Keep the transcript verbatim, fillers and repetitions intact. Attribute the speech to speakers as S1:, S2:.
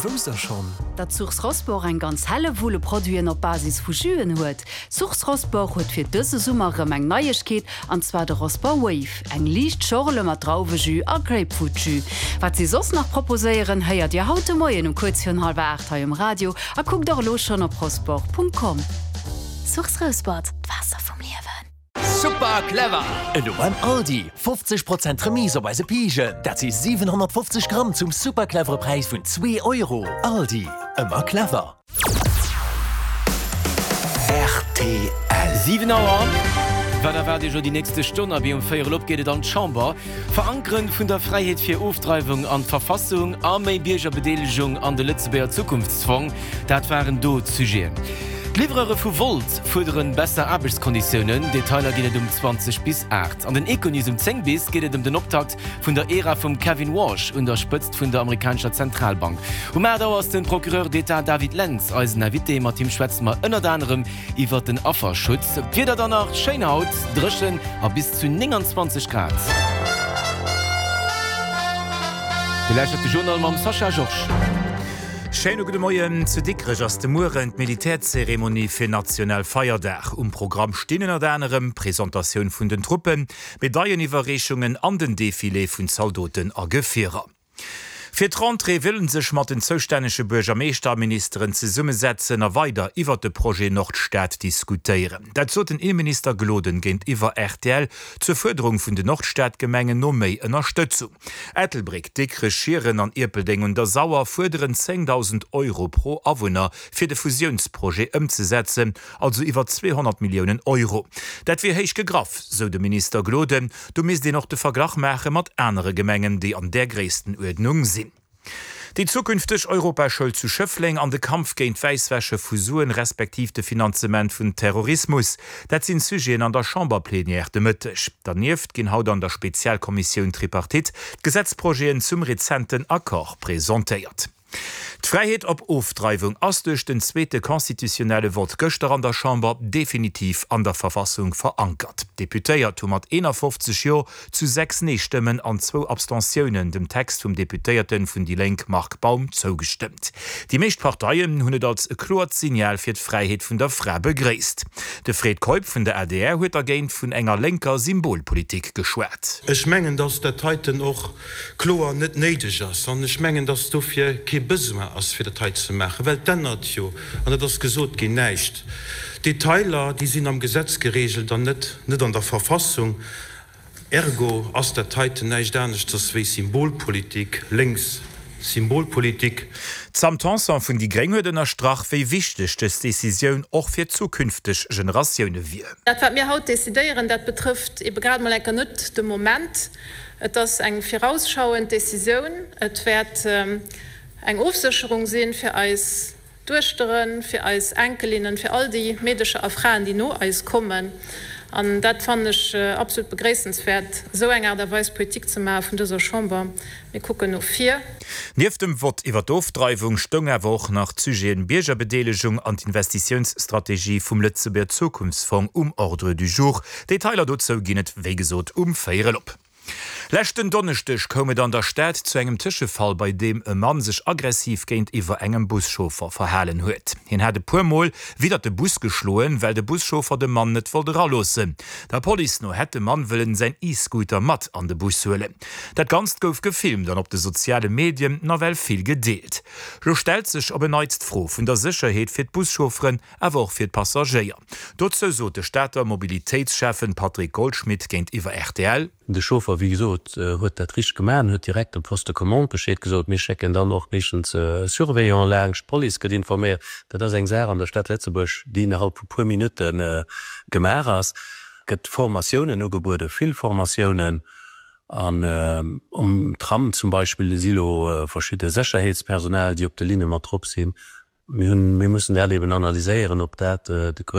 S1: Wousst der schonn?
S2: Datt Source Rosport eng ganz Hellewull u Produiten op Basis vu Jüen huet? Source Rosport huet fir dëse Summer rëm eng Neiegkeet, an zwar de Rosport Wave, eng liicht Schorle mat Drauwejus a Grapefruitjus. Wat si soss nach proposéieren, héiert Dir haut de Moien um kuerz virun hallwer aacht hei um Radio a kuckt och elo schonn op rosport.com. Source Rosport, d'Waasser vum Liewen.
S3: Super clever! Elo beim Aldi, fofzeg Prozent Remise op eise Pijen. Dat si siwenhonnertfofzeg Gramm zum super clevere Präis vun zwee Euro. Aldi, ëmmer clever.
S4: Rtl. Siwen Auer. Wat erwaart Iech elo déi nächste Stonn? Abee, um Véierel op geet et an d'Chamber. Verankeren vun der Fräiheet fir Ofdreiwung an d'Verfassung a méi Biergerbedeelegung an de Lëtzebuerger Zukunftsfong, dat waren do d'Sujeten. D'Livreure vu Wolt fuerderen besser Aarbechtskonditiounen. Detailer ginn et um zwanzeg bis aacht. An den Econews um zéng bis geet et ëm den Optakt vun der Ära vum Kevin Warsh un der Spëtzt vun der amerikanescher Zentralbank. Um aacht Auer ass den Procureur d'État David Lentz eisen Invité. Mat him schwätze mer ënnert anerem iwwert den Afferschutz. D'Wieder dann nach, Schéin haut, dréchen a bis zu nénganzwanzeg Grad. Dir lauschtert de Journal mam Sascha Georges.
S5: Schéine gudde Moien. Zu Dikrech ass de Mueren d'Militärzeremonie fir national Feierdag. Um Programm stinn ënnert anerem d'Presentatioun vun den Truppen, Medailleniwwerreechungen an den Defilé vun Zaldoten a Gefierer. Fir d'Rentrée wëll en sech mat den zoustännege Buergermeeschter a Ministeren zesummesetzen a weider iwwert de Projet Nordstad diskutéieren. Dat sot den Inneminister Gloden géintiwwer rtl zur Fuerderung vun den Nordstad-Gemengen no méi Ënnerstëtzung. Ettelbréck, Dikrech, Schieren an Ierpeldeng un der Sauer fuerderen zéngdausend Euro pro Awunner fir de Fusiounsprojet ëmzesetzen, also iwwer zweehonnert Milliounen Euro. Dat wier héich gegraff, sou de Minister Gloden. Do misst een och de Verglach maache mat anere Gemengen, déi an där Gréisstenuerdnung sinn. Déi zukünfteg Europaschoul zu Schëffleng an de Kampf géint d'Wäisswäsche vu Suen, respektiv de Finanzement vun Terrorismus, dat sinn d'Sujeten an der Chamberplenière de Mëtteg. Dernieft ginn haut an der Spezialkommissioun Tripartite d'Gesetzprojeten zum rezenten Accord presentéiert. D'Fräiheet op Ofdreiwung ass duerch den zweete constitutionnelle Vott gëschter an der Chamber definitiv an der Verfassung verankert. D'Deputéiert hu mat eenafofzeg Jo zu sechs Nee-Stëmmen an zwou Abstentiounen dem Text vum Deputéierte vun déi Lénk Marc Baum zougestëmmt. Déi meescht Parteien hunn et als e kloert Signal fir d'Fräiheet vun der Fra begréisst. De Fred Keup vun der adr huet dergéint vun enger lénker Symbolpolitik geschwat.
S6: Ech mengen, dass dat heiten och kloer net néideg ass an ech mengen, dass dofir kee Besoin ass, fir dat hei ze maachen, well et ännert jo, an dat ass gesot ginn, näischt. D'Detailer, déi sinn am Gesetz geregelt an net net an der Verfassung. Ergo ass dat heiten näischt aneschters wéi Symbolpolitik, lénks Symbolpolitik.
S5: D'Sam Tanson vun déi gréng huet ënnerstrach, wéi wichteg dës Decisioun och fir zukünfteg Generatioune wier.
S7: Dat, wat mir haut decidéieren, dat betrëfft ebe grad emol enker net de Moment. Et ass eng virausschauend Decisioun. Et wäert eng Ofsécherung si fir eis Duechteren, fir eis Enkelinnen, fir all déi Meedecher a Fraen, déi no eis kommen. An dat fannen ech absolut begréissenswäert, esou eng Aart a Weis Politik ze maache vun dëser Chamber. Mir kucken no vir.
S5: Nieft dem Vott iwwer d'Ofdreiwung stoung awer och nach d'Sujeten Biergerbedeelegung an d'Investitiounsstrategie vum Lëtzebuerger Zukunftsfong um Ordre du jour. Detailer dozou ginn et wéi gesot um véierel op. Leschten Donneschdeg koum et an der Stad zu engem Tëschefall, bei deem e Mann sech aggressiv géintiwwer engem Buschauffer verhalen huet. Hien hat e puer Mol widdert de Bus geschloen, well de Buschauffer de Mann net wollt eraloossen. Der Police no hätt de Mann wëllen säin E-Scooter mat an de Bus huelen. Dat Ganzt gouf gefilmt an op de soziale Medien nawell vill gedeelt. Lo stellt sech op en Neits d'Fro vun der Sécherheet fir d'Buschaufferen, awer och fir d'Passagéier. Dozou sot de Stater Mobilitéitsschäffen Patrick Goldschmidt géintiwwer rtl.
S8: De Chauffer, wéi gesot, huet dat richteg gemaach an huet direkt dem Poste de commande Bescheed gesot. Mir schécken dann och meeschtens e Surveillant laanscht, d'Police gëtt informéiert. Dat ass eng Saach an der Stad Lëtzebuerg, déi innerhalb vu puer Minutte gemaach ass. Et gëtt Formatiounen ugebueden, vill Formatiounen. An um Tram zum Beispill si lo verschidde Sécherheetspersonal, déi op de Linne mat drop sinn. Mir hunn, mir mussen dat eben analyséieren, ob dat de Grënn.